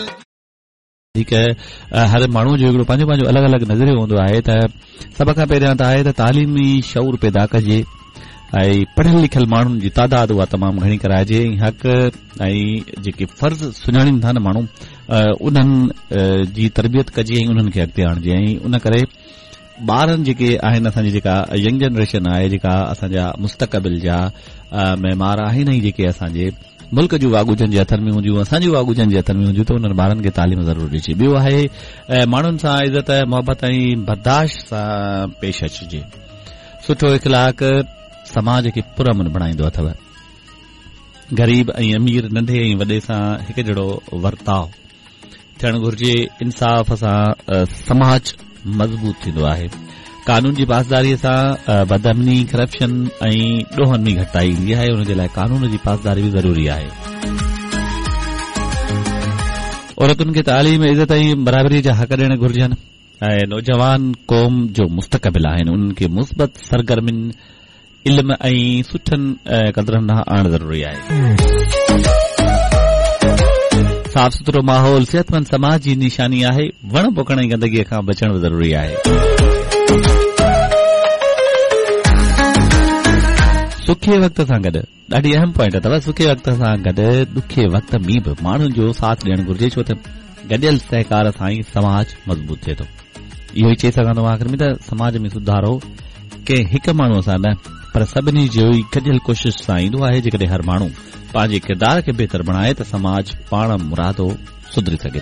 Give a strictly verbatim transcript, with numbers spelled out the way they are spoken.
وڌيڪ هر ماڻهوء جو هڪڙو پنهنجو پنهنجو الڳ الڳ نظريو هوندو آهي ته سڀ کان پهريان ته آهي ته تعليمي شعور پيدا ڪجي ۽ پڙهيل لکيل ماڻهن جي تعداد اها تمام گهڻي ڪرائجي ۽ حق ۽ جيڪي فرض سڃاڻين ٿا نه ماڻهو انهن جي تربيت ڪجي ۽ انهن کي اڳتي آڻجي ۽ ان ڪري ٻارن جيڪي آهن اسان جي جيڪا ينگ جنريشن آهي جيڪا اسان جا مستقبل جا معمار آهن ۽ جيڪي اسان جي ملڪ جون واڳون جن جي هٿن ۾ هونديون اسان جون واڳون جن جي هٿن ۾ هونديون ته انهن ٻارن کي تعليم ضرور ڏجي. ٻيو آهي ماڻهن سان عزت محبت ۽ برداشت سان پيش اچجي. سٺو اخلاق سماج کي پرامن بڻائيندو اٿو. غريب ۽ امير ننڍي ۽ وڏي سان هڪ جهڙو ورتاء ٿيڻ گهرجي. انصاف سان سماج مضبوط ٿيندو آهي. قانون جي پاسداري سان بدامني، ڪرپشن ۽ ڏوهن ۾ گهٽتائي ايندي آهي. ان جي لاء قانون جي پاسداري به ضروري آهي. عورتن کي تعليم، عزت ۽ برابري جا حق ڏيڻ گهرجن ۽ نوجوان قوم جو مستقبل آهن. انهن کي مثبت سرگرمين، علم ۽ سٺن قدرن ڏانهن آڻڻ ضروري آهي. صاف سٿرو ماحول صحتمند سماج جي نشاني آهي. وڻ پوکڻ ۽ گندگي کان بچڻ به ضروري آهي. سکي وقت سان گڏ ڏاڍي اهم پوائنٽ اٿو. سکي وقت سان گڏ ڏکي وقت ۾ به ماڻهن جو ساٿ ڏيڻ گهرجي ڇو ته گڏيل سهڪار سان ئي سماج مضبوط ٿئي ٿو. اهو ئي چئي سگهان ٿو مان آخر ۾ ته سماج ۾ سڌارو ڪنهن هڪ ماڻهوء سان نه پر سڀني جي ئي گڏيل ڪوشش سان ايندو آهي. جيڪڏهن هر ماڻهو پنهنجي ڪردار کي بهتر بڻائي ته سماج پاڻ مرادو سڌري سگهي ٿو.